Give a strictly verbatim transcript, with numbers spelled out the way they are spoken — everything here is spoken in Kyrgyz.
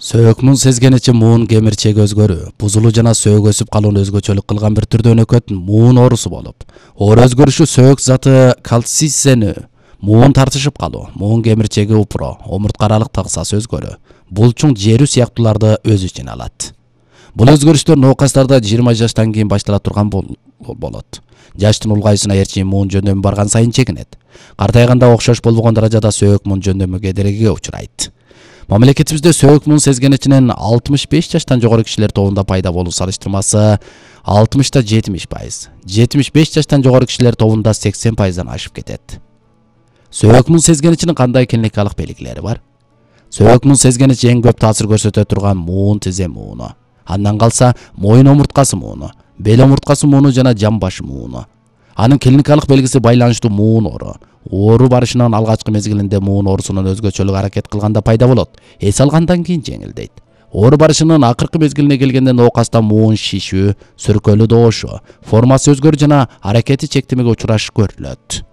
Сөөк муң сезгеничи муун кемирчеги өзгөрүү, бузулуу жана сөөк өсүп калууну өзгөчөлүк кылган бир түрдүү өнөкөт муун оорусу болуп, оор өзгөрүшү сөөк заты кальцийсенүү, муун тартышып калуу, муун кемирчеги упуро, омуртка аралык тагысасы өзгөрүү, булчуң жерүү сыяктууларды өз ичине алат. Бул өзгөрүштөр ноокастарда жыйырма жаштан кийин баштала турган болот. Жаштын улгайышына эрчим муун жөндөмү барган сайын чегинет. Картайганда окшош болбогон даражада сөөк муун жөндөмү кедергиге учурайт. Мамлекетибизде сөөк муун сезгеничинин алтымыш беш жаштан жогору кишилер тобунда пайда болуу салыштырмасы алтымышта жетимиш пайыз, жетимиш беш жаштан жогору кишилер тобунда сексен пайыздан ашып кетет. Сөөк муун сезгеничинин кандай клиникалык белгилери бар? Сөөк муун сезгеничи эң көп таасир көрсөтө турган муун тизе мууну. Андан калса моюн омурткасы мууну, бел омурткасы мууну жана жам башы мууну. Анын клиникалык белгиси байланыштуу муун оору. Оору барышынын алгачкы мезгилинде муун оорусунун өзгөчөлүк аракет кылганда пайда болот. Эс алгандан кийин жеңилдейт. Оору барышынын акыркы мезгилине келгенде ноокаста муун шишүү, сүркөлүү добушу, формасы өзгөрүү жана аракети чектемеге учурашы көрүлөт.